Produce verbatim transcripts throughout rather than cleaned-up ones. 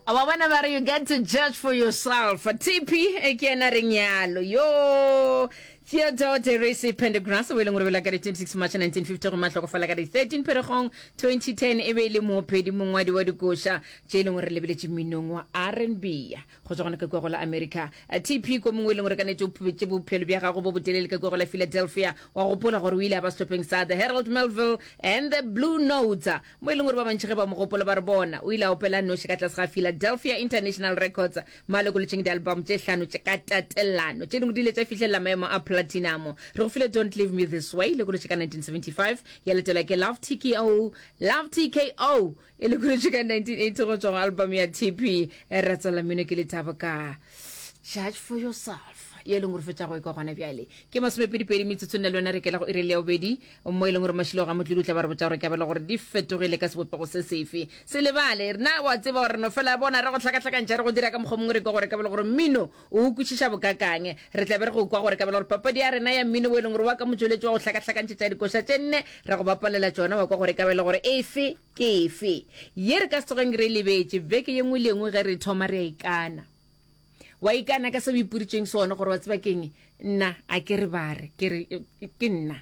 Wa bona ba re you get to judge for yourself. T P e ke yena reng yalo yo Theodore Teresi Pendergrass, o e leng gore bela ka di twenty-six March nineteen fifty go mahlokofala ka di thirteen Pherekgong twenty ten, e be e le moopedi, mongwadi wa dikoša tše e leng gore re lebeletše mminong wa R and B go tswa gona ka kua go la America. T P ko mongwe e leng gore ka netse o phubetše bophelo bja gago bo botelele ka kua go la Philadelphia. Wa gopola gore o ile a ba sehlopheng sa The Harold Melville and the Blue Notes, mo e leng gore ba bantši ge ba mo gopola ba re bona o ile a opela noši ka tlase ga Philadelphia International Records, mo a lekolotšeng di-album tše hlano tše ka tatelano tše dingwe di ile tša fihlelela maemo a platinum. Re go file Don't Leave Me This Way, lekolotše ka nineteen seventy-five, ya latelwa ke Love T K O, Love T K O e lekolotše ka nineteen eighty go tswa go album ya T P. Ra tswela mmino ke Lethabo ka Judge for Yourself, ye e leng gore fetša go e kwa gona bjale ke masomepedipedi metsotso nne le yona re kela go iri le ya bobedi, mo e leng gore Mašilo ga Motlodi o tla ba re botša gore kabelo gore di fetogile ka sebopego se sefe. Se lebale rena wa tseba gore no fela bona re go hlakahlakantšha, re go dira ka mokgwa mongwe, re kwa gore kabelo gore mmino o kwešiša bokakang. Re tla be re go kwa gore kabelo gore papadi ya rena ya mmino o e leng gore wa ka motšweletši wa go hlakahlakantšhetša dikoša tše nne, ra go bapalela tšona, wa kwa gore kabelo gore efe ke efe ye re ka se tsogeng re lebetše. Beke ye nngwe le ye nngwe ge re thoma re a ikana, wa ikana ka se o ipuritšeng sona gore wa tseba keng, nna a ke re ba re ke re ke nna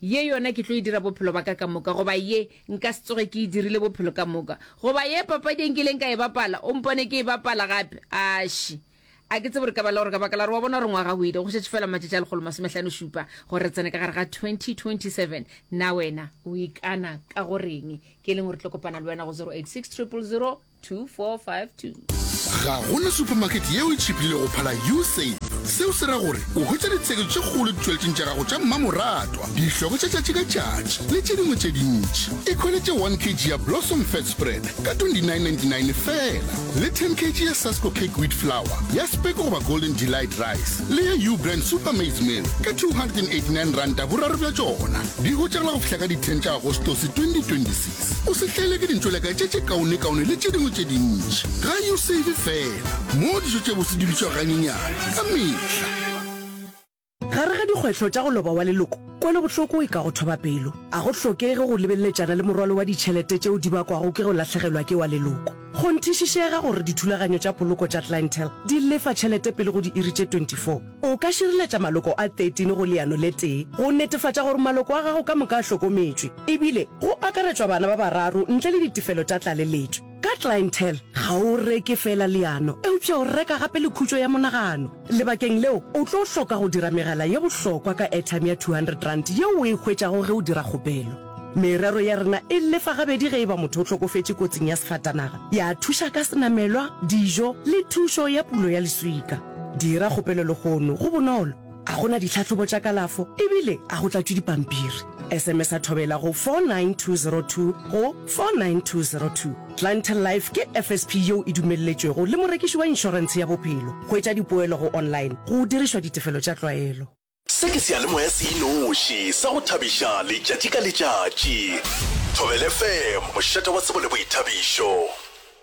ye yona ke tlo e dira bophelo ba ka ka moka, goba ye nka se tsoge ke e dirile bophelo ka moka, goba ye papadi e nkileng ka e bapala o mpone ke e bapala gape. Aši, a ke tsebe gore ka bala gore ka baka la gore wa bona gore ngwaga o ile go šetše fela matšatši a lekgolo masomehlano šupa gore re tsene ka gare ga twenty twenty-seven. Na wena o ikana ka goreng? Ke e leng gore tlo kopana le wena go zero eight six triple zero two four five two. Ga gona supermarket yeo e tšhipile go phala Usave. Seo se ra gore o hwetša ditsheketšo tše kgolo ditšweletšeng tša gago tša mmamoratwa, dihloko tša tšatši ka tšatši le tše dingwe tše dintši. Ikhweletše one kilogram ya Blossom Fat Spread ka twenty-nine ninety-nine fela, le ten kilogram ya Sasko Cake Wheat Flour ya Speke goba Golden Delight Rice le ya U-Brand Super Maize Meal ka two hundred and eighty-nine ranta boraro bja tšona. Di hwetšagala go fihla ka di ten tša Agostose twenty twenty-six. O se hlaele ke dintšoleka tše tše kaonekaone le tše dingwe tše dintši ga Usave fela, mo dijo tše bose di bitšwa ganyenyane ka mehla. Gare ga dikgwetlho tša go loba wa leloko, kwelobohloko e ka go thoba pelo. A go hlokege go lebeletšana le morwalo wa ditšhelete tšeo di bakwago ke go lahlegelwa ke wa leloko. Kgonthišišega gore dithulaganyo tša poloko tša Clientele di lefa tšhelete pele go diiri tše twenty-four. O ka šireletša maloko a thirteen go leano le tee go netefatša gore maloko a gago ka moka a hlokometšwe, ebile go akaretšwa bana ba bararo ntle le ditefelo tša tlaleletšo. Ka Clientele ga o reke fela leano, eupša o reka gape le khutšo ya monagano. Lebakeng leo o tlo hloka go dira megala ye bohlokwa ka airtime ya two hundred rand yeo o e hwetšago ge o dira kgopelo. Merero ya rena e lefa gabedi ge e ba motho o hlokofetše kotsing ya sefatanaga, ya thuša ka senamelwa, dijo le thušo ya pulo ya leswika. Dira kgopelo lehono, go bonolo, a gona ditlhahlobo tša kalafo ebile a go tlatšwe dipampiri. S M S a Thobela go four nine two zero two go four nine two zero two. Clientele Life ke F S P yeo e dumelletšwego le morekiši wa inšorentshe ya bophelo. Hwetša dipoelo go online go dirišwa ditefelo tša tlwaelo. Se ke seyalemoya se inoši sa go thabiša letšatši ka letšatši. Thobela F M, mošate wa tsebo le boithabišo.